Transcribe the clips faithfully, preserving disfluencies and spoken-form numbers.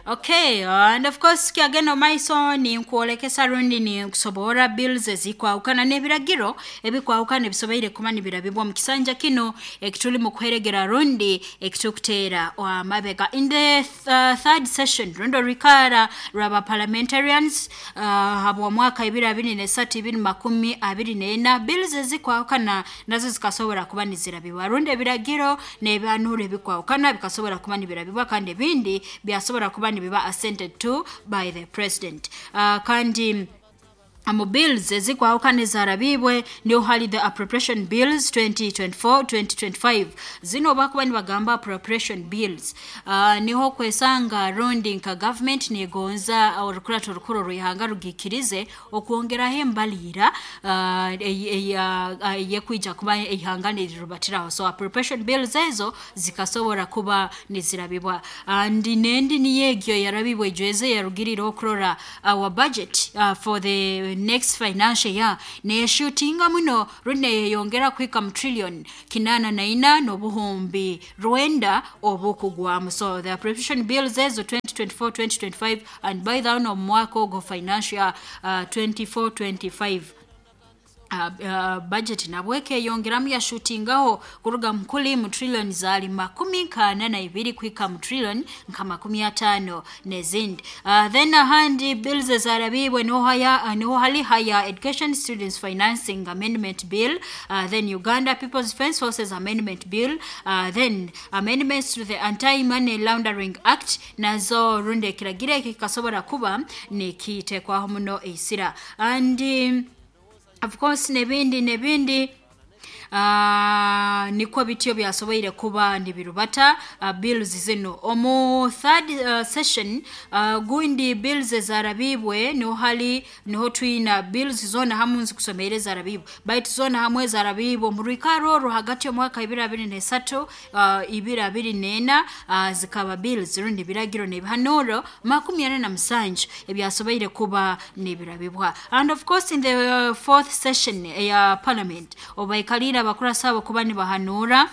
Okay, and of course kyagenda maiso ninkwolekesa rundi ninkusoborra bills ezikwahukana n'ebiragiro ebikwahukana ebisoboire kuba nibirabibwa mu kisanja kino ekituli mu kuheregera rundi ekitukuteera amabega. In the th third session, rundi orwikara rwaba parliamentarians uh, habwa mwaka ibiri abiri nesatu ibiri makumi abiri n'ena, bills ezikwahukana nazo zikasobora kuba nizirabibwa, rundi ebiragiro n'ebihanuro ebikwahukana bikasobora kuba nibirabibwa, kandi ebindi byasobora kuba nibiba assented to by the president. uh, kandi mu bills ezikwahukana ezarabibwe niho hali the Appropriation Bills twenty twenty-four twenty twenty-five. Zino bakuba nibagamba appropriation bills, uh, niho kwesanga rundi nka government negonza orukurato orukuru rwihanga rugikirize okwongeraho embalira uh, eyekwija kuba ihanga nirirubatiraho. So appropriation bills ezo zikasobora kuba nizirabibwa, and nendi niyegyo yarabibwe ejweze yarugirire okurora our budget uh, for the next financial year neyeshutinga muno rundi neyeyongera kuhika mu trillion kinana na ina n'obuhumbi rwenda obukugwamu. So the appropriation bills ezo twenty twenty-four twenty twenty-five, and by the omu mwaka ogwo financial year uh, twenty-four twenty-five, Uh, uh, budget nabwo ekeyongeramu yashutingaho kuruga mukuli mu trillion zaali makumi nkana na ibiri kuhika mu trillion nka makumi atano n'ezindi. uh, then ahandi bills ezarabibwe niho haya uh, niho hali Higher Education Students Financing Amendment Bill, uh, then Uganda People's Defence Forces Amendment Bill, uh, then amendments to the Anti Money Laundering Act. Nazo rundi ekiragiro eki kikasobora kuba nikitekwaho muno eisira, and um, of course nebindi nebindi. uh, nikwo bityo byasoboire kuba nibirubata uh, bills zino omu third uh, session. uh, gundi bills ezarabibwe niho hali niho twina bills zona hamwe nzikusomere zarabibwe, baitu zona hamwe zarabibwe mu rwikaro orwo hagati y'omwaka ibiri abiri nesatu uh, ibiri abiri nena, uh, zikaba bills rundi biragiro n'ebihanuro makumi ana na musanju ebyasoboire kuba nibirabibwa. And of course in the uh, fourth session eya parliament, obaikalire abakurasi abo kuba nibahanura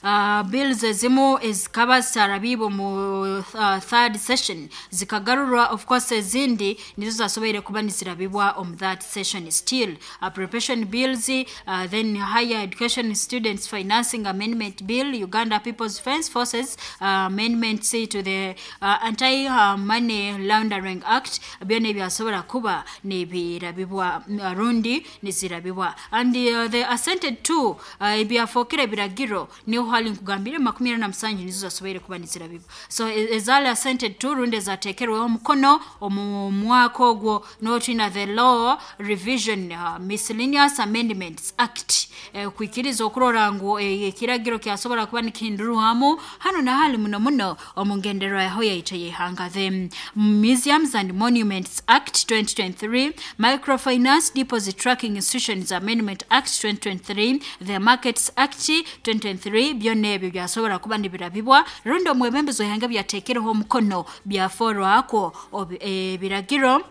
uh, bills ezimu ezikaba zitarabibwe mu uh, third session zikagarurwa. Of course ezindi nizo zasoboire kuba nizirabibwa omu that session still. Appropriation bills, uh, then Higher Education Students Financing Amendment Bill, Uganda People's Defence Forces uh, amendments to the uh, Anti uh, Money Laundering Act, byona ebyasobora kuba nibirabibwa uh, rundi nizirabibwa. And uh, the assented to, uh, ebyafookere ebiragiro, niho hali nkugambire makumi ana na musanju nizo zasoboire kuba nizirabibwa. So ezali assented to rundi ezateekerweho omukono omu mwaka ogwo notwina the Law Revision uh, Miscellaneous Amendments Act, eh, kwikiriza okurora ngu ekiragiro kyasobora kuba nikihindurwamu hano na hali muno muno omu ngenderwa yaho yaitu ey'ihanga. The Museums and Monuments Act twenty twenty-three, Microfinance Deposit Tracking Institutions Amendment Act twenty twenty-three, the Markets Act twenty twenty-three, byonna ebyo byasobora kuba nibirabibwa rundi omwebembezi w'ihanga byateekereho omukono byaforwako ebiragiro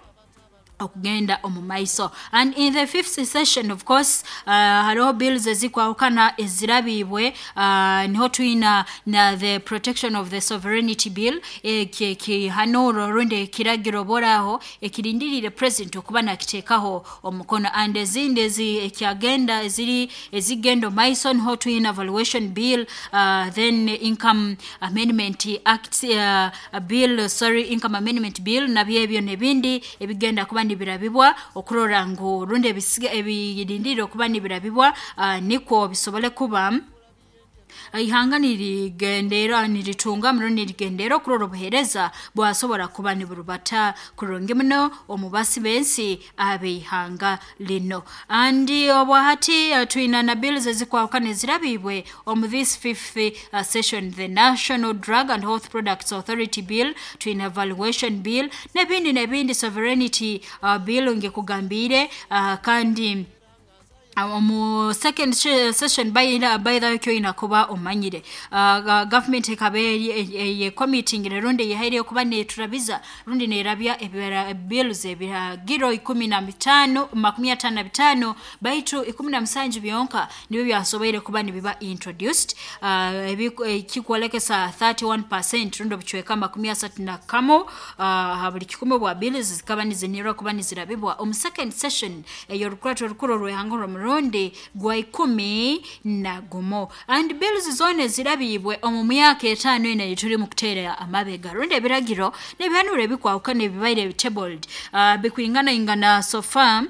okugenda omu maiso. And in the fifth session, of course, uh, hariho bills ezikwahukana ezirabibwe. uh, niho twina na the Protection of the Sovereignty Bill, ekihanuro rundi ekiragiro boraho ekirindirire president okuba nakiteekaho omukono. And ezindi ezi ekyagenda eziri ezigenda maiso niho twina Valuation Bill, uh, then Income Amendment Act uh, Bill, sorry, Income Amendment Bill. Nabyo ebyo nebindi ebigenda kuba nibirabibwa okurora ngu rundi ebirindire okuba nibirabibwa, uh, nikwo bisobole kuba ihanga nirigendera niritunga muno nirigendera okurora obuheereza bwasobora kuba niburubata kurungi muno omu basi b'ensi ab'eihanga lino. And obwahati uh, twina na bills ezikwahukana ezirabibwe omu this fifth uh, session: the National Drug and Health Products Authority Bill, twina Valuation Bill n'ebindi n'ebindi, Sovereignty uh, Bill ngekugambire, uh, kandi Omu second session, by by the way, kuba omanyire uh, government ekaba ye committing rundi yehaire kuba neturabiza rundi nerabya bills ebiragiro ikumi na mitano makumi atano na bitano, baitu ikumi na musanju byonka nibyo byasoboire kuba nibiba introduced, uh, kikwolekesa thirty-one percent rundi obucweka makumi asatu na kamo uh, buli kikumi bwa bills zikaba nizinirwa kuba nizirabibwa omu second session ey'orukurato orukuru orw'ihanga rw'omurundi gwa ikumi na gumu. And bills zone zirabibwe omu myaka etaano ena tuli mu kuteera amabega, rundi ebiragiro n'ebihanuro ebikwawukana ebibaire tabled uh, bikwingana ingana so far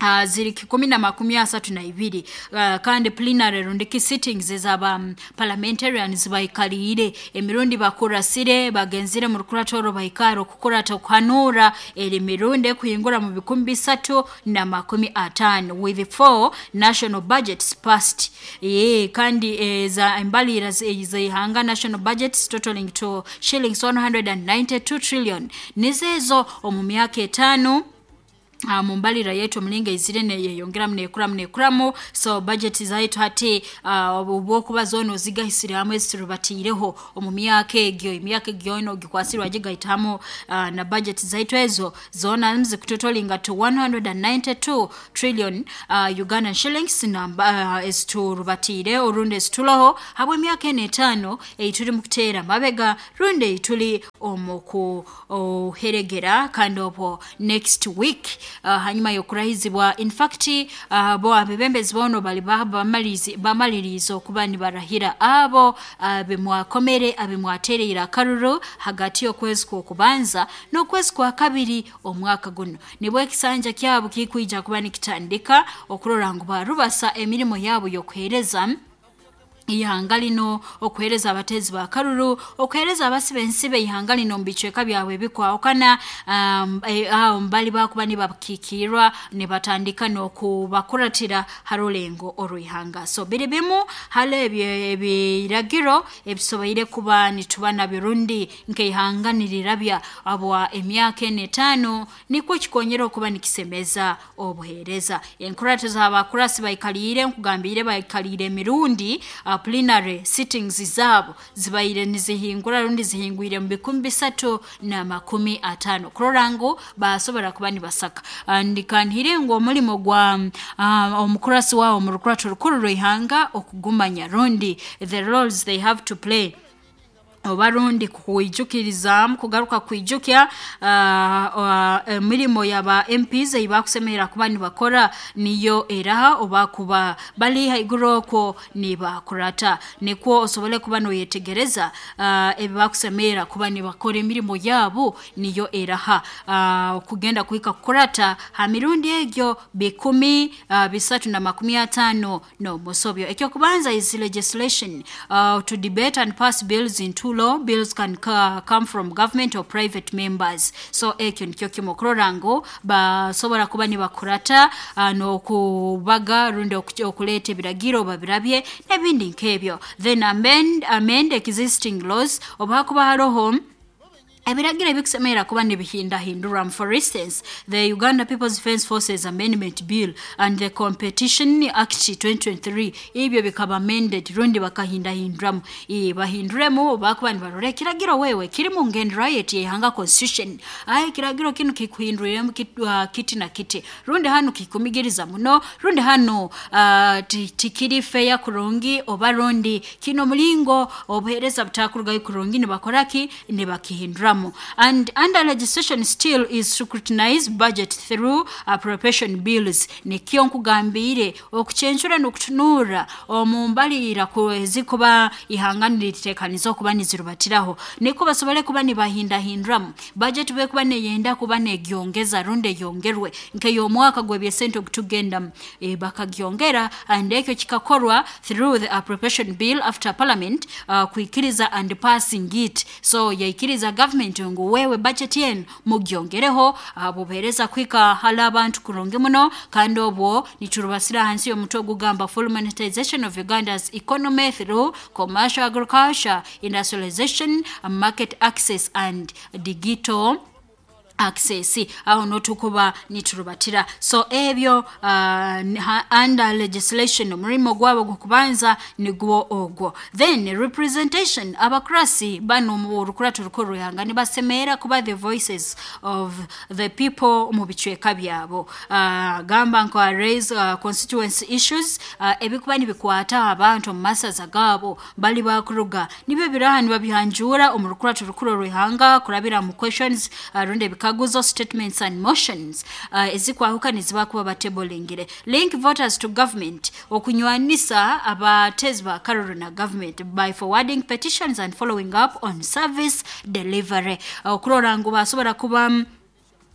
Uh, ziri kikumi na makumi asatu na ibiri, uh, kandi plenary rundi sittings ezaba um, parliamentarians baikaliire emirundi bakurasire bagenzire mu rukuratoro baikaro kukurata okuhanura eri mirundi kuhingura mu bikumi bisatu na makumi atano with four national budgets passed. Ye, kandi eza embalira z'ihanga national budgets totaling to shillings one hundred ninety-two trillion nizezo omu myaka etaano Uh, mumbalira yetu mlinga izire neyongeramu nekuramu nekuramu. So budget zaitu hati obwokuba uh, zono zigahisire hamwe zirubatiireho omu myaka egyo emyaka egyo ino gikwasirwa gigaitamu uh, na budget zaitu ezo zona zikutotolinga to one hundred ninety-two trillion uh, Ugandan shillings namba uh, ezturubatiire orundi ezituloho habwe emyaka ene etaano eituli mu kuteera mabega rundi eituli omu kuheregera. Kandi obwo next week Uh, hanyuma yokurahizibwa, in fact uh, bo abebembezi bono bali bamaliriza bamaliriza okuba nibarahira abo uh, bemwakomere abemwaterera akaruru hagati y'okwezi kw'okubanza n'okwezi kwa kabiri omwaka guno, nibwo ekisanja kyabo kikwija kuba nikitandika okurora ngu barubasa emirimo yabo y'okuhereza ihanga lino, okuhereza abatezi ba karuru, okuhereza abasibe ensibe ihanga lino mbicweka byabwe ebikwawukana, um, e, awo mbali bakuba nibakikirwa nibatandika n'okubakuratira harulengo orwihanga. So biri bimu hale ebiragiro ebisoboire kuba nituba nabyo rundi nk'ihanga nirirabya abwa emyaka ene etaano nikwo kikonyera okuba nikisemeza obuhereza. Enkurata z'abakurasi baikaliire nkugambire baikaliire emirundi uh, plenary sittings zabo zibaire nizihingura rundi zihingwire mu bikumi bisatu na makumi atano kurora ngu basobora kuba nibasaka. Ndikanhire ngu omulimo gwa uh, omukurasi wao mu rukurato rukuru rw'ihanga okugumanya rundi the roles they have to play oba rundi kuijukiriza kugaruka kwijukya emirimo uh, uh, yaba M Ps eyibakusemera kuba nibakora niyo eraha oba kuba bali haiguru okwo nibakurata, nikwo osobole kuba noyetegereza uh, ebibakusemera kuba nibakora emirimo yabo niyo eraha uh, kugenda kuhika kukurata ha mirundi egyo bikumi uh, bisatu na makumi atano no musobyo. Ekyo kubanza is legislation uh, to debate and pass bills into law. Bills can come from government or private members. So ekyo nikyo kimu okurora ngu basobora kuba nibakurata uh, n'okubaga rundi okuleeta ebiragiro babirabye n'ebindi nk'ebyo. Then amend, amend existing laws oba kuba haroho ebiragiro ebikusemera kuba nibihindahindura. For instance, the Uganda People's Defence Forces Amendment Bill and the Competition Act twenty twenty-three ebyo bikaba amended rundi bakahindahinduramu e, bahinduremu bakuba nibarora ekiragiro wewe kiri mu ngendera yeti ihanga constitution, aye kiragiro kinu kikuhinduremu kit, uh, kiti na kiti rundi hanu kikumigiriza muno rundi hanu uh, tikiri fair kurungi oba rundi kino mulingo obuhereza butakurugayo kurungi nibakoraki nibakihinduramu. And under legislation still is scrutinized budget through appropriation bills. Nikyo nkugambire okuchenchura n'okutunura omu mbalira ezikuba ihanga niritekaniza okuba nizirubatiraho niko basobole kuba nibahindahinduramu budget bekuba neyenda kuba negyongeza runde yongerwe nk'ey'omwaka gw'ebyesente okutugenda e, bakagyongera, and ekyo kikakorwa through the appropriation bill after parliament uh, kuikiriza and passing it. So yaikiriza government ngu wewe budget yenu mugyongereho bubereza kwika hala abantu kurungi muno. Kandi obwo niturubasira hansi y'omutwe ogugamba full monetization of Uganda's economy through commercial agriculture, industrialization, market access and digital Access aho notukuba niturubatira. So ebyo uh, under legislation omurimo gwabo gukubanza nigwo ogwo. Then representation, abakurasi bano mu rukurato rukuru rw'ihanga nibasemera kuba the voices of the people mu bicweka byabo. uh, gamba nka raise uh, constituency issues, uh, ebikuba nibikwata abantu mu masaza gabo bali bakuruga nibyo biraha nibabyanjura omu rukurato rukuru rw'ihanga kurabira mu questions, uh, runde bikaguzo, statements and motions uh, ezikwahuka nizibakuba batebolingire. Link voters to government, okunywanisa abatezi ba karuru na government by forwarding petitions and following up on service delivery. Okurora ngu basobora kuba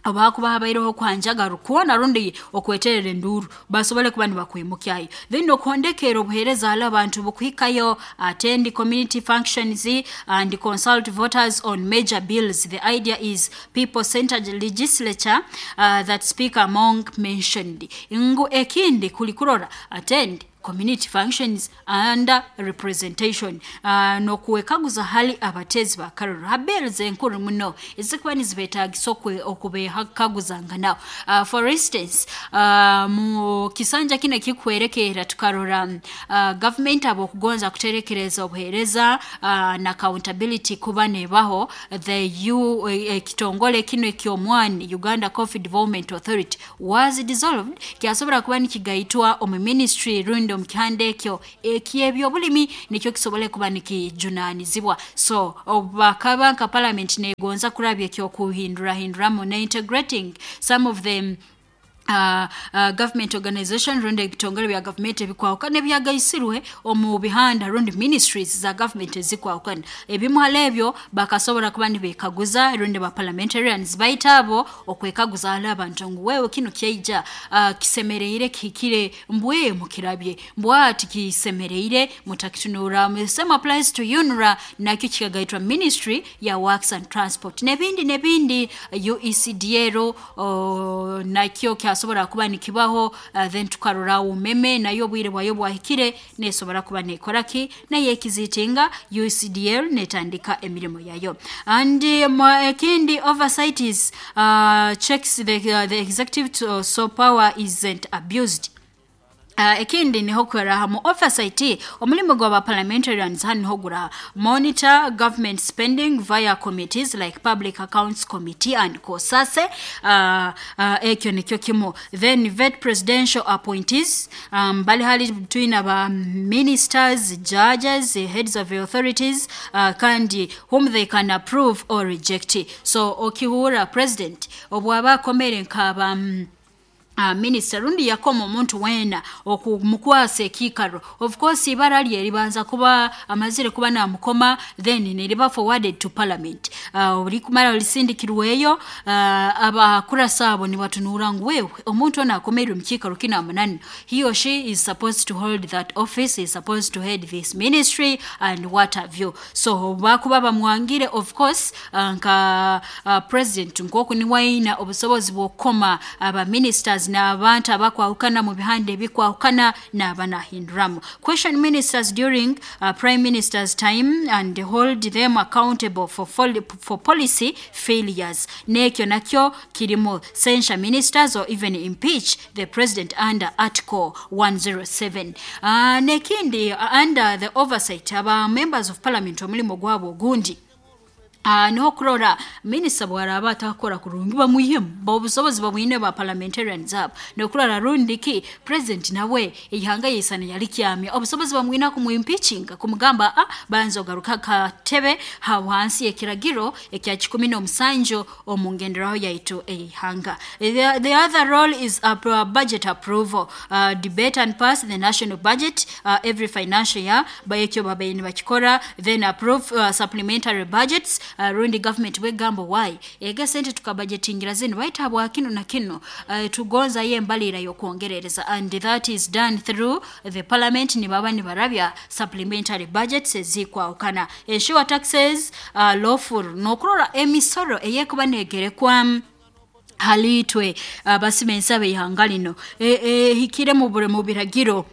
abakuba habaireho kwanjaga rukuona rundi okweterera enduru basobole kuba nibakwimukyayo. Then okondekera obuhereza ala abantu bukuhikayo, attend community functions and consult voters on major bills. The idea is people centered legislature uh, that Speaker Among mentioned. Ngu ekindi kulikurora attend community functions and representation, uh, nokuwekaguza hali abatezi ba karuru habells enkuru muno ezikuba nizibetagisa okubehakaguzanga nao. uh, for instance, uh, mu kisanja kino kikwerekera tukarora uh, government abo kugonza kuterekereza obuhereza uh, na accountability kuba nebaho the U eh, kitongole kino ekyomwani Uganda Coffee Development Authority was dissolved, kyasobora kuba nikigaitwa omu ministry rundi omukihanda ekyo eky'ebyobulimi nikyo kisobole kuba nikijunanizibwa. So bakaba nka parliament negonza kurabya ekyokuhindurahinduramu na integrating some of them Uh, uh, government organization rundi ebitongole bya government ebikwawukana ebyagaisirwe omu bihanda rundi ministries za government ezikwawukana ebimu ebyo bakasobora kuba nibekaguza rundi ba parliamentarians baita abo okwekaguza ala abantu ngu wewe kino kyaija uh, kisemereire kihikire mbwe mukirabye mbwati kisemereire mutakitunura. Same applies to UNRA nakyo kikagaitwa ministry ya works and transport nebindi nebindi U E C D L uh, nakyo kyasobora kuba nikibaho. uh, then tukarora umeme nayo bwire bwayo bwahikire nesobora kuba nekoraki naye ekizitinga U C D L netandika emirimo yayo. And ekindi um, oversight is uh, checks the, uh, the executive to, uh, so power isn't abused. Uh, ekindi niho kweraha mu oversight omulimo gwa parliamentarians hano gura monitor government spending via committees like Public Accounts Committee and COSASE. uh, uh, ekyo nikyo kimu. Then vet presidential appointees, um, bali hali between aba ministers, judges, heads of authorities, uh, kandi whom they can approve or reject. So okihura president obwaba akomere nkaba um, Uh, minister rundi yakoma omuntu wena okumukwasa ekikaro, of course ibara lye libanza kuba amazire kuba namukoma, then neriba forwarded to parliament. uh, olikumara olisindikirweyo uh, abakurasa abo nibatunura ngu wewe omuntu ona akomerwe mu kikaro kina munani, he or she is supposed to hold that office, is supposed to head this ministry and what have you. So bakuba bamwangire of course uh, nka uh, president nkoku ni waina obusobozi bwokoma aba ministers n'abantu abakwahukana mu bihande ebikwahukana n'abanahinduramu. Question ministers during uh, prime minister's time and hold them accountable for, for policy failures. Nekyo nakyo kirimo censure ministers or even impeach the president under article one oh seven. Uh, nekindi uh, under the oversight aba members of parliament omulimo gwabo ogundi Uh, niho kurora minister bwaraba atakora kurungi bamwihemu bobusobozi babwine ba parliamentarians abo nokurora rundi ki president nawe ihanga yisana yali kyamya obusobozi bamwina kumwimpeachinga kumugamba a banzo garuka katebe hawansi ekiragiro ekya kikumi n'omusanju omungenderaho yaitu eihanga. The, the other role is a budget approval, uh, debate and pass the national budget uh, every financial year bayekyo babayini bakikora, then approve uh, supplementary budgets. Uh, rundi government wegambo why ega sente tukabajetingira zino baita bwa kino na kino uh, tugonza ye mbalira yokuongerereza, and that is done through the parliament ni baba ni barabya supplementary budgets ezikwa ukana ensure taxes uh, lawful nokurora emisoro eyekuba negerekwa halitwe uh, basimensa be ihanga lino e, e, hikire mu bure mu biragiro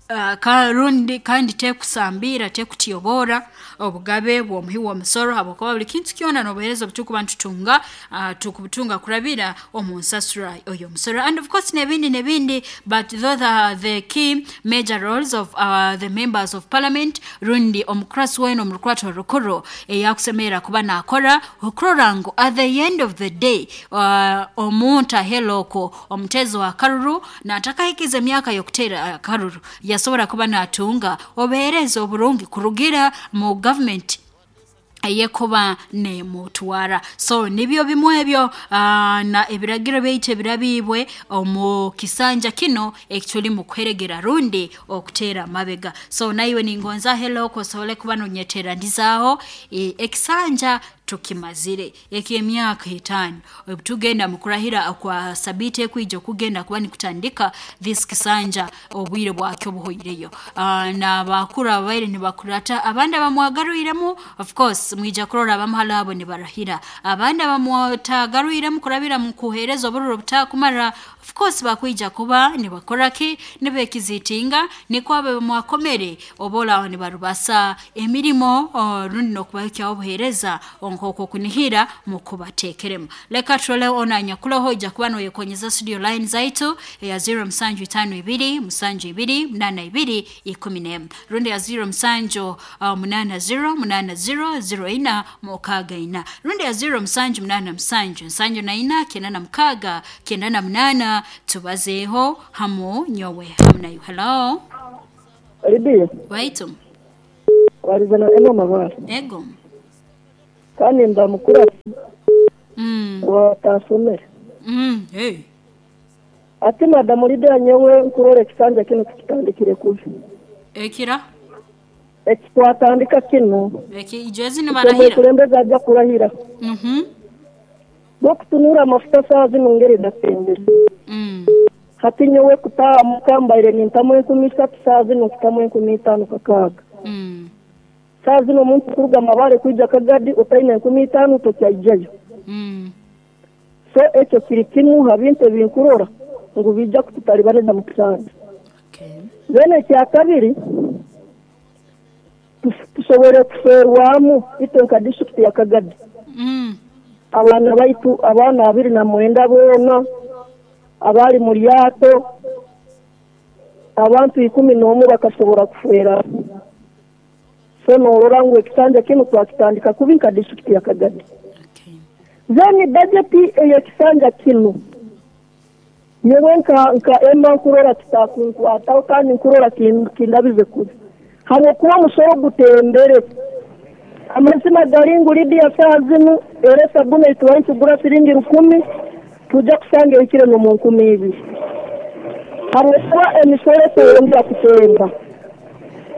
Uh, karundi kandi tekusambira tekutiyobora obugabe bw'omuhi w'omusoro habwokuba buli kintu kyona n'obuheereza obutukuba ntutunga uh, tukubutunga kurabira omu nsasura oyo musoro and of course n'ebindi n'ebindi, but those are the key major roles of uh, the members of parliament rundi omukurasi wena omurukurato rukuru eyakusemerera kuba nakora okurora ngu at the end of the day uh, omuntu aheloko omutezo wa karuru natakahikiza emyaka y'okuteera akaruru yasobora kuba natunga obuheereza oburungi kurugira mu government eyekuba nemutwara. So nibyo bimwe ebyo uh, na ebiragiro byaitu ebirabibwe omu kisanja kino ekituli mu kuheregera rundi okuteera amabega. So naiwe ningonza hello kosobole kuba nonyeteranizaho e, ekisanja tukimazire ekyemyaka etaano tugenda mukurahira kwa sabite ekwija okugenda kuba nikutandika this kisanja obwire bwakyo buhoireyo. Uh, na bakuru abaire nibakurata abandi abamwagaruiremu of course mwija kurora abamuhala abo nibarahira abandi abamwatagaruiremu kurabira mu kuhereza obururo butakumara of course bakwija kuba nibakoraki nibekizitinga niko abe mwakomere obola nibarubasa emirimo rundi nokubahikyaho obuhereza nkoko kunihira mukubatekeremu. Leka turole ona nyakuloho ija kuba noyekonyeza studio line zaitu ya zero musanju itano ibiri musanju ibiri munana ibiri ikumi n'emu rundi ya zero musanju uh, munana zero munana zero zero ina mukaga ina rundi ya zero musanju munana musanju nsanju na ina kenda na mukaga kenda na munana. Tubazeho hamu nyowe hamu nayo. Hello Lidia waitu warizana eno mabara ego kandi ndamukura mm watasomera mm hey ati madamu Lidia nyewe nkurore kisanja kino tukitandikire kubi ekira ekitwatandika kino eki ijezi ni barahira kulembeza ajja kurahira mhm bokutunura amafuta saa zino ngeri datembere mm hati nyewe kutamuka mbaire nintamu enkumi isatu saa zino nkutamu enkumi itaano kakaaga mm saa zino omuntu kuruga Mabare kwija Kagadi otaine enkumi itaano tokyaijayo mm so ekyo kiri kimu ha bintu ebinkurora ngu bijja kututalibaneza mu kisanja. Okay. Then ekya kabiri tusobore kuferwamu itwe nka district ya Kagadi mm abaana baitu abaana abiri na mwenda boona abali mu lyato abantu ikumi n'omu bakasobora kufera. So norora ngu ekisanja kino twakitandika kubi nka district ya Kagadi. Okay. Then budget ey'ekisanja kino nyewe nka nka ema nkurora kitakunkwataho kandi nkurora kindabize kubi habwokuba omusoro gutembere. Amazima gari ngu Lidia saa zinu era esabuni eitubaire nitugura siringi rukumi tujja kusanga ehikire n'omu nkumi ibiri habwokuba emisoro eteyongera kutemba.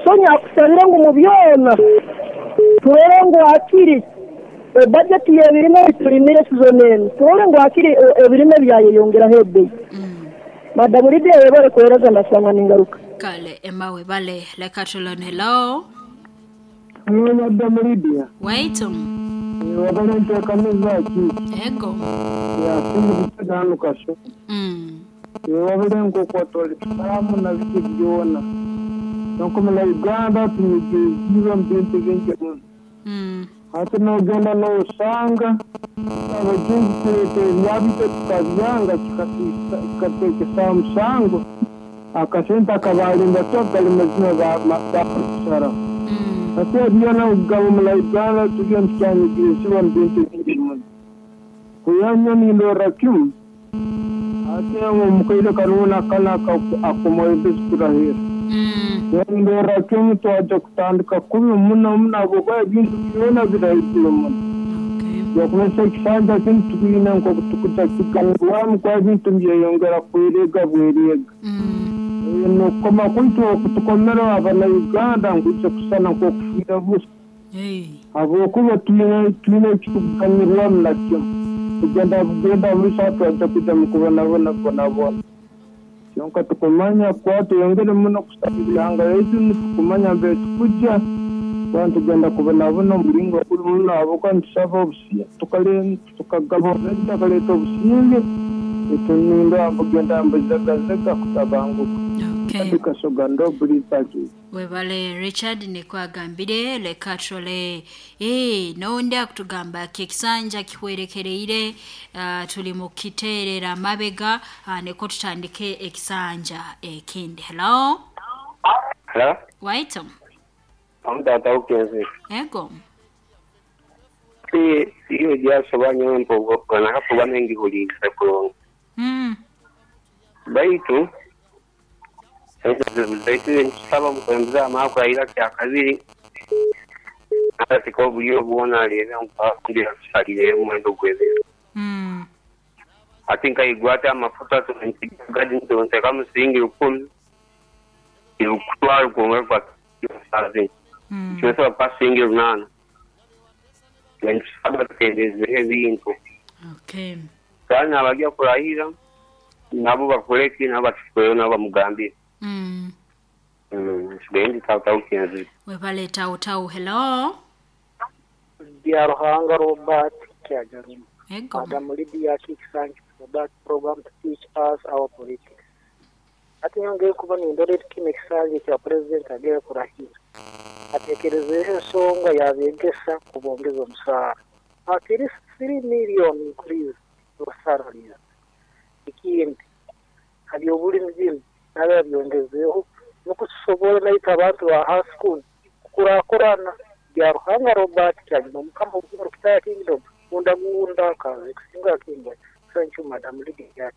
So nyakusabire ngu mu byona turore ngu hakiri ebudget y'ebirime turimire season eno turore ngu hakiri ebirime byayeyongeraho ebbeeyi. Madamu Lidia yebale kuhereza ndasanga ningaruka. Kale emawe bale leka tulone. Hello Hello Madamu Lidia waitu wabale nteekaniza ki ego yasinga kutagano kasho mm wabale nkokwatwalikisamu na biki byona nkomela Uganda tunyigizibwa mu bintu bingi muno mm hati nogenda nosanga abajungu kuleeta ebyabito tukabyanga kikateekesa musango akasente akabalinda to gali mazima bakusara mm hati ebyona okugaba mula Uganda tugenda tukyanyigirizibwa mu bintu bingi muno kuyanya nindorra kimu ate omukaire kanuuna kana akomwembezi kurahira mm ndorra kimu twaja kutandika kubi muno muno habwokuba ebintu byona birahigire muno. Okay. Yakumesa ekisanja kinu tukwine nkoku tukuja kiganirwamu kuba ebintu byeyongera kwerega bwerega mm nokukoma kwitu okutukomera abana Uganda nkwija kusana nkokufiira busa hey habwokuba twine twine ekitukuganirwamu nakyo kugenda kugenda busa twaja kuja mukubonabona bonabona kyonka tukumanya kuba tuyongere muno kusaba ebihanga yaitu nitukumanya mbere tukuja kuba tugenda kubonabona omuringo guri muno habwokuba nitusaba obusinge tukagaba tukaleeta obusinge etuninda bugenda mbuzegazega kutabanguka. Okay. Webale Richard nikwagambire leka trole eh nonde akutugamba kekisanja kihwerekereire uh, tuli mu kiterera mabega uh, neko tutandike ekisanja ekindi. Hello. Hello. Wait. Amtata ukenzi. Ego. Si iyo jasobanya mpogo kana hapo banengi hulisa kulonga. Mm. Baitu baitu nsaba mukwemza amako ayira kya kabiri ati ko buyo buona lera mpakundira kusalire mwendo gwebe. Mm. Ati nkaigwata amafuta tunigadi ntonse musingi rukumi irukutwara kumwe kwa sazi. Mm. Cyose pasingi runana. Nsaba tendeze ebintu. Okay. Kandi abagiye kurahira nabo bakureke nabo batukoyo nabo bamugambire. Mm. Mm, sigendi tau kenzi. Webale tau tau. Hello. Bya Ruhanga Robert Kyajaruma. Ego. Madam Lydia Kiksanj for that program to teach us our politics. Ati nyongeye kuba nindore kino kisanje kya president agera kurahira. Atekerezeho ensonga yabegesa kubongeza omusaara. At least three million increase your salaries. Ikindi hari obulimi bino nabe yabyongezeho nukusobola naita abantu ba high school kukurakurana. Bya Ruhanga Robert Kyagino mukama w'Urukitaya Kingdom gunda gunda kaze kusinga kingwa. Thank you Madam Lydia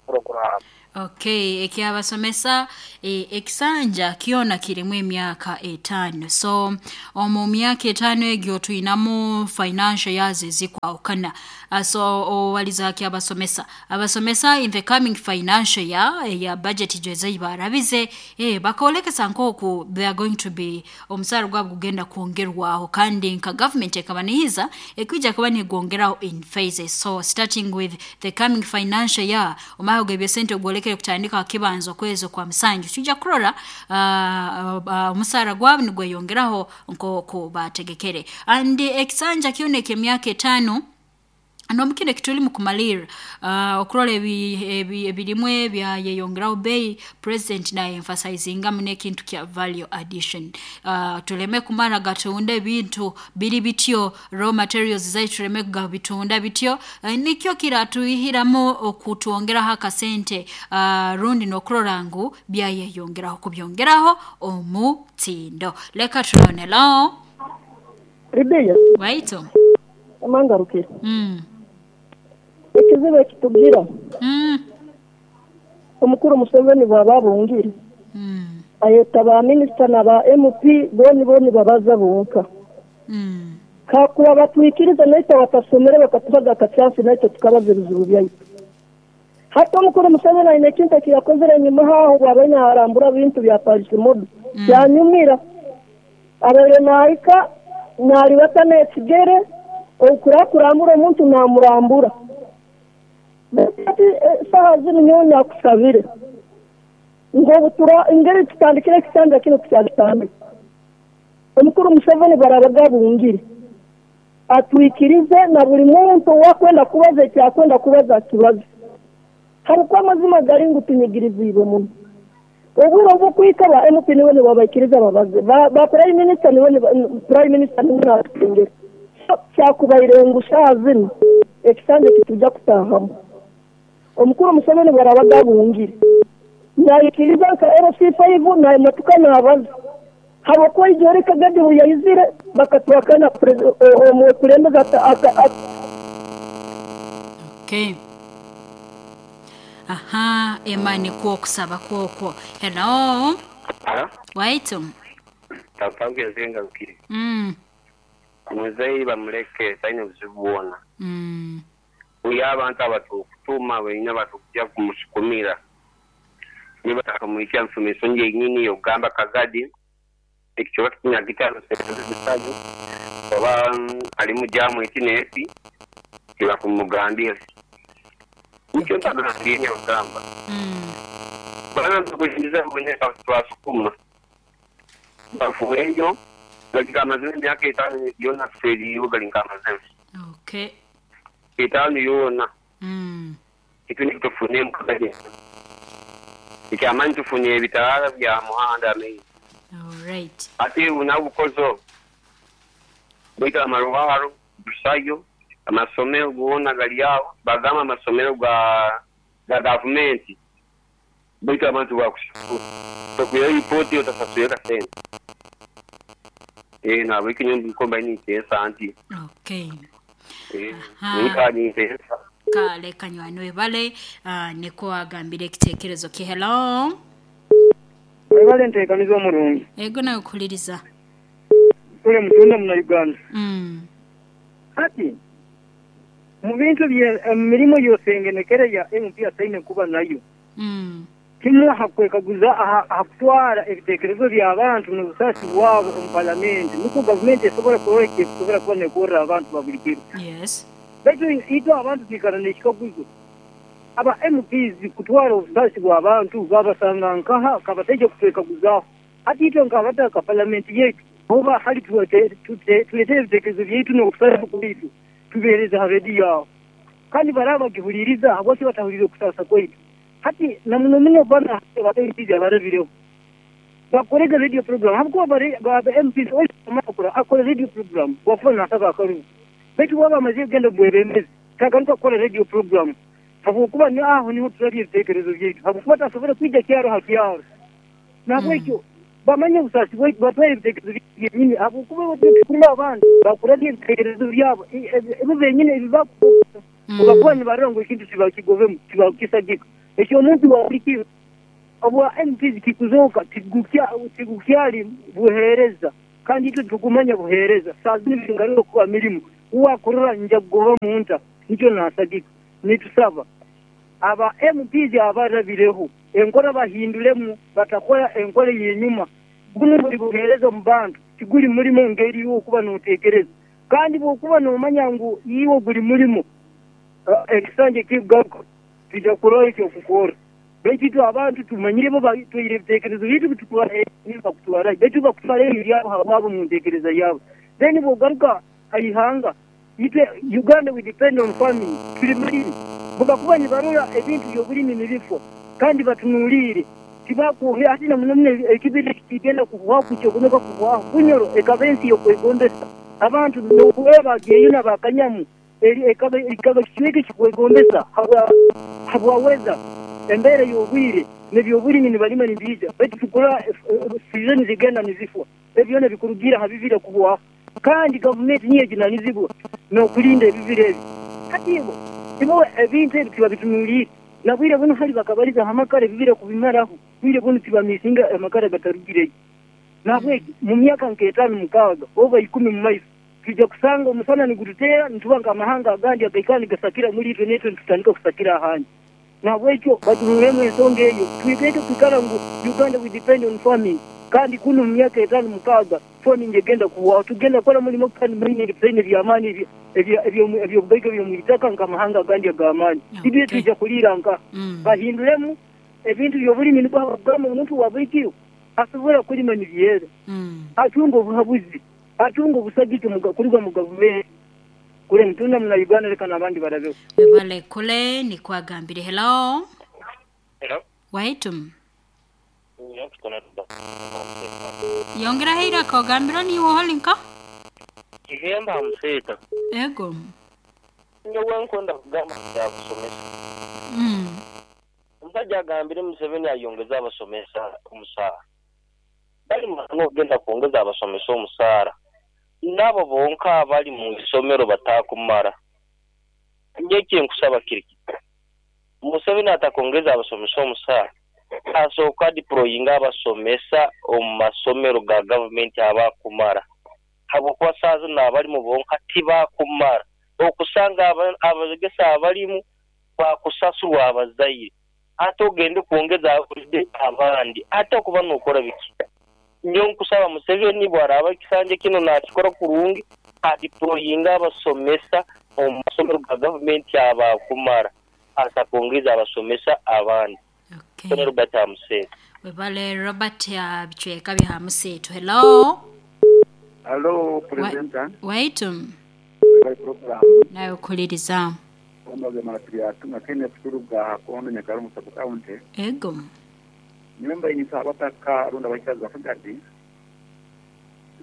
program. Okay, ekyabasomesa e, ekisanja kiona kirimu emyaka etaano. So omu myaka etaano egyo tuyinamu financial years ezikwawukana. Uh, so owaliza kyabasomesa. Abasomesa in the coming financial year ya budget gyeze barabize eh bakolekesa nkoku they are going to be omusaro gwabwo gugenda kwongerwaho kandi nka government ekabanihiza ekwijja kuba nigwongeraho in phases. So starting with the coming financial year omaho gebye sente ogwolekere kutandika kibanzo kwezo kwa msanju tujja kurora omusara uh, uh, gwabwo nigweyongeraho nkoko bategekere. And ekisanja kyoneke emyaka etaano nomukine kituli mukumalira uh, okurora ebirimwe bya yeyongeraho bei president na emphasizinga mune kintu kya value addition. Uh, tuleme kumara gatunda ebintu biri bityo raw materials zaitu tuleme gabitunda bityo uh, nikyo kiratuihiramu okutuongeraho akasente uh, rundi nokurora ngu bya yeyongeraho kubyongeraho omutindo. Leka tulone lao Ribeya waito amangarukire. Mm. Ekizibu ekitugira. Mm. Omukuru Museveni bwaba bungire. Mm. Ayeta ba minister na ba M P boni boni babaza bonka. Mm. Kakuba batwikiriza naita batasomere bakatubaga akacyansi naita tukabaza ebizibu byaitu. Hata omukuru Museveni aine ekintu ekiyakozere enyuma haho bwaba naarambura bintu bya Paris Mode. Mm. Yanyumira. Abaire naika nalibata n'ekigere okura kurambura omuntu namurambura. Ati saha zino nyonya kusabire ngo butura ingeri tutandikire kitanda kino tukyatandika. Omukuru Museveni barabaga bungire atwikirize na buli muntu wakwenda kubaza ekyakwenda kubaza kibazo. Harukwa amazima gari ngu tunyigirizibwe muno. Obwire obukwika ba M P niwe nibabaikiriza babaze ba, ba prime minister niwe prime minister niwe natengera. Kyakubaire ngu saha zino ekisanja kitujja kutahamu. Omukuru Museveni barabaga bungire nayikiriza nka L C five na emotoka nabaza habwokuba ijoro Kagadi buyayizire bakatwakana omukulembeze aka. Okay. Aha, emani kuo kusaba kuokwo. Hello. Hello. Waitu. Tapange zenga ukiri. Mm. Muzeyi bamuleke taine buzibu. Mm. Uya abantu abatukutuma wenyine batukujja kumusukumira. Niba takamwikia mfumiso nje nyini yogamba Kagadi ekichoka kinya gitano sente oba ali mu jamu ekinepi kiba kumugambira. Nikyo ntagambye yogamba. Mm. Bana tukushiriza mwenye twasukuma. Bafueyo galinga amazina emyaka etaano yona feri galinga amazina. Okay. Etaano yona. Mm. Ekyo nikitufune mukagadi. Ekyamanyi tufunye ebitaala bya muhanda amaizi. All right. Ate unabukozo bwita amarwaro busayo amasomero gona gali awo bagamba amasomero ga ga gavumenti bwita abantu bakusasula tokuyo ripoti otasasula sente eh na wiki nyumbi komba ni tesa anti okay eh nika ni tesa kale kanywani webale uh, niko agambire ekitekerezo ki. Hello. Webale ntekanizo omurungi. Ego nawe kuliriza. Kule mutunda muna Uganda. Mm. Hati mu bintu bye mirimo yose ngenekere ya M P asaine kuba nayo. Mm. Kimwe hakwekaguza hakutwara ebitekerezo by'abantu n'obusasi bwabo omu parliament. Niko government esobola kureka esobola kuba nekorera abantu babulikiro. Yes. Baitu ito abantu twikara n'ekikaguzo. Aba M Ps kutwara obusasi bw'abantu babasanga nkaha kabateje kutwekaguzaho. Hati ito nkabataka parliament yetu oba hali tulete ebitekerezo byaitu n'okusasa kwaitu tubeereza ha rediyo aho. Kandi baraba bagihuliriza habwaki batahuliriza okusasa kwaitu. Hati na muno muno bana abateyizi abarabireho bakorega radio program habwo bare ba M Ps omakura akora radio program wafuna nataka akaru baitu waba amaze kugenda bwebembezi tagaruka kukora radio program habwokuba ni aho niho turari ebitekerezo byaitu habwokuba tasobora kwija kyaro ha kyaro nabwekyo bamanye obusasi bwaitu batware ebitekerezo byenyini habwokuba batukuma abantu bakora ebitekerezo byabo ebo benyini ebibakuba obakuba nibarora ngu ekintu tibakigovemu tibakisagika. Ekyo omuntu wabulikiro obwa M Ps kikuzoka tigukya tigukyali buhereza kandi itwe tukumanya buhereza sazi bingaruka kuba mirimu uwakorora nja kugoba munta nikyo nasagika nitusaba aba M Ps abarabireho enkora bahindulemu batakora enkora yenyuma guno buli buhereza mu bantu tiguli mulimo ngeri yo kuba notekereza kandi bwokuba nomanya ngu iwo guli mulimo ekisanje kigaruka tujja kurola ekyo kukora baitu itwe abantu tumanyire bo batwire ebitekerezo bitu bitukura bakutwara baitu bakutwara ebyabo habwabo mu ntekereza yabo. Then bwogaruka haihanga itwe Uganda we depend on farming tuli mulimi bubakuba nibarora ebintu by'obulimi nibifo kandi batunuulire tibakuhe ati na muno ekibiri kigenda kuhwaho kukyokunoka kuhwaho Bunyoro ekaba ensi y'okwegombesa abantu n'okuba bageyuna bakanyamu ekaba ekaba kichweke kikwegombesa habwaweza embere y'obwire n'ebyobulimi nibalima nibiija baitu tukora season zigenda nizifwa ebyona bikurugira habibira kuhwaho kandi gavumenti niyo ejunanizibwa n'okulinda ebibira ebi. Hati ibo ibo ebintu ebi tibabitunuulire nabwire buno hali bakabaliza amakara ebibira kubimaraho bwire buno tibamisinga amakara gatarugireyo nabweki mu myaka nk'etaano mukaaga oba ikumi mu maiso tujja kusanga omusana nigututeera nituba nk'amahanga agandi agaikara nigasakira muri itwe netwe nitutandika kusakira ahandi. Nabwekyo batunulemu ensonga eyo twikeke kwikara ngu Uganda we depend on farming kandi kuno mu myaka etaano mukaaga farming egenda kuhwaho tugenda kukora mulimo kandi mining ebisenge by'amaani ebyobugaiga by'omwitaka nk'amahanga agandi ag'amaani. Ibyo tujja kuliira nka bahindulemu ebintu by'obulimi nibwo habagamba omuntu wa bulikiro asobola kulima nibyera atunga obuhabuzi atunga obusagike kuruga mu gavumenti kule mtunda muna Uganda leka n'abandi barabeho. Webale kule nikwagambire. Hello. Hello. Waitum. Yongera heira kogambira ni woholinka? Kihemba museta. Ego. Nyowe nkonda kugamba ya kusomesa. Mm. Omusajja agambire Museveni ayongeza abasomesa omusaara. Bali mano ogenda kwongeza abasomesa omusaara. Nabo bonka abali mu isomero batakumara. Njye nkusaba kiri. Museveni atakongeza abasomesa omusaara. Asooka deployinga abasomesa omu masomero ga gavumenti abakumara. Habwokuba saazi n'abalimu bonka tibakumara. Okusanga abagesa abalimu bakusasulwa abazaire. Ate ogende kwongeza abandi. Ate okuba n'okora biki. Nyo nkusaba Museveni bw'araaba ekisanja kino nakikora kurungi adeployinga abasomesa omu masomero ga gavumenti abakumara. Asakwongeza abasomesa abandi. Okay. Robert Amuseto. Webale Robert ya bichweka bya Amuseto. Hello. Hello, presenter. Waitum. Nayo kuliriza. Onoge maratria tuna Kenneth Kuruga kondo Nyakarumu sub county. Ego. Nyumba inisaba abataka rundi abaikazi bakagadi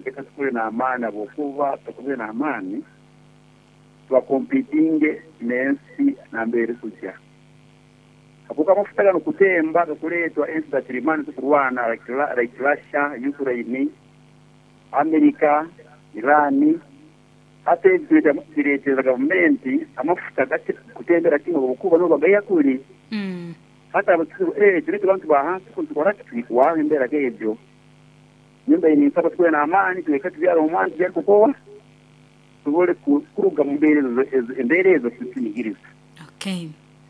leka tukule n'amaani habwokuba tukubire n'amaani tubakompitinge n'ensi nambere kujya habwokuba amafuta gano kutemba gakuleetwa ensi za kirimani zikurwana like, like Russia, Ukraine, America, Iran. Hata ebi bireetera gavumenti amafuta kutembera kimwe habwokuba nibo bagayakuli. Mm. Hata eh tulete bantu ba hansi kuntukora kitwikwaho embeera gebyo. Nyumba ininsaba tukube n'amaani tuleke tubyara omwani tubyare kukowa tubole kuruga mu mbeera ezo embeera ezo tunyigiriza. Okay.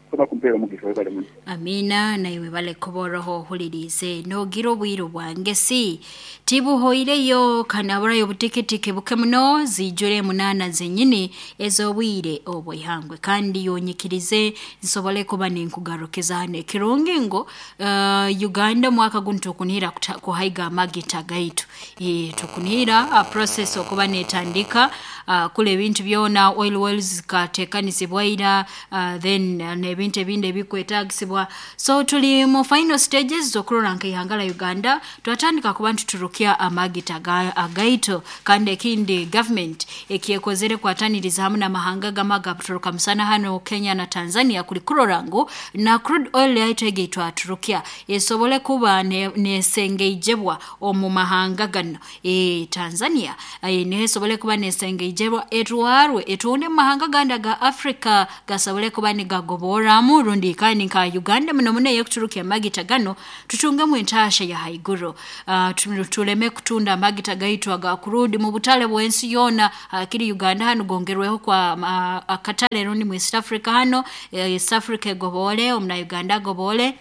Kuba kumpeera omugisha webale muno. Amina naiwe bale kuboroho ohulirize nogira obwiru bwange si tibuhoireyo kanaburayo obutikitiki buke muno zijure munana zenyini ez'obwire obwihangwe kandi yonyikirize nsobole kuba ninkugarukiza hano ekirungi ngo uh, Uganda mwaka guno tukunihira kuhaiga amagita gaitu e, tukunihira a process okuba netandika uh, kule ebintu byona oil wells zikatekanizibwa ira uh, then uh, n'ebintu ebindi ebikwetagisibwa. So tuli mu final stages z'okurora nk'ihanga la Uganda twatandika kuba ntuturukia amagita agaito kandi ekindi government ekyekozere kwataniriza hamwe n'amahanga gamaga turuka musana hano Kenya na Tanzania kuli kurora ngu na crude oil yaitu ege twaturukia esobole kuba nesengeijebwa omu mahanga gano e, Tanzania e, nesobole kuba nesengeijebwa etwarwe etuone mu mahanga ganda ga Africa gasobole kuba nigagobora rundi kandi nka Uganda muno muno yekuturukia amagita gano tutungemu entasha ya haiguru. Uh, tuleme kutunda amagita gaitu aga kurudi mu butale bwensi yona akiri uh, Uganda hano gongerweho kwa uh, akatale rundi mu East Africa hano East Africa gobole omuna Uganda gobole.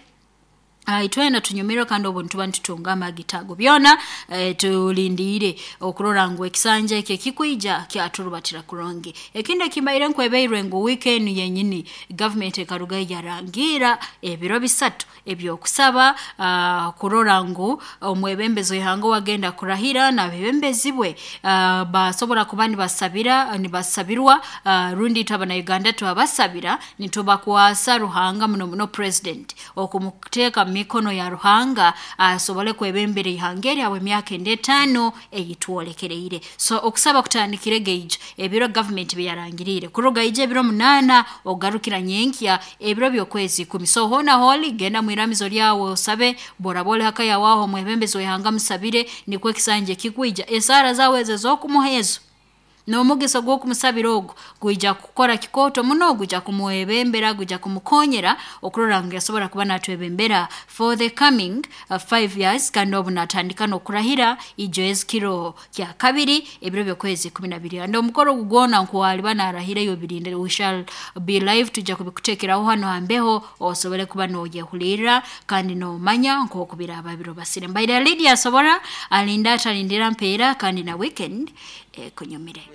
Uh, itwena tunyumiro kandi obuntu bantutunga amagita ago byona eh, tulindire okurora ngu ekisanja ekyo kikwija kyaturubatira kurongi. Ekindi kimbaire nkwebeirwe ngu weekend yenyini government ekaruga yarangira ebiro bisatu ebyokusaba uh, kurora ngu omwebembezo ihango wagenda kurahira na bebembezibwe uh, basobora kuba nibasabira nibasabirwa uh, rundi tabana Uganda twabasabira nitubakwasa Ruhanga muno muno president okumuteka mikono ya Ruhanga asobole uh, kwebembere ihangeri awe myaka endetano eyitwolekereire. So okusaba kutandikire gauge ebiro government byarangirire kuruga ije ebiro munana ogarukira nyenkya ebiro byokwezi kumi. So hona holi genda mwiramizo lyawe osabe borabole hakaya waho mwebembezo ihanga musabire nikwe kisanje kikwija esara zawe ezokumuhezo n'omugeso gw'okumusabira ogwo gwija kukora kikoto muno gwija kumuwebembera gwija kumukonyera okurora ngu yasobora kuba natwebembera for the coming uh, five years kandi obu natandika n'okurahira ijo ezikiro kya kabiri ebiro by'okwezi kumi na bibiri. And omukoro gugwona nkuwaliba narahireyo birinde we shall be live tujja kubikutekeraho hano hambeho osobole kuba n'oyehulira kandi n'omanya nk'okubira ababiro basire. Mbaire Lydia asobora alinda atalindira mpeera kandi na weekend eh, kunyumire.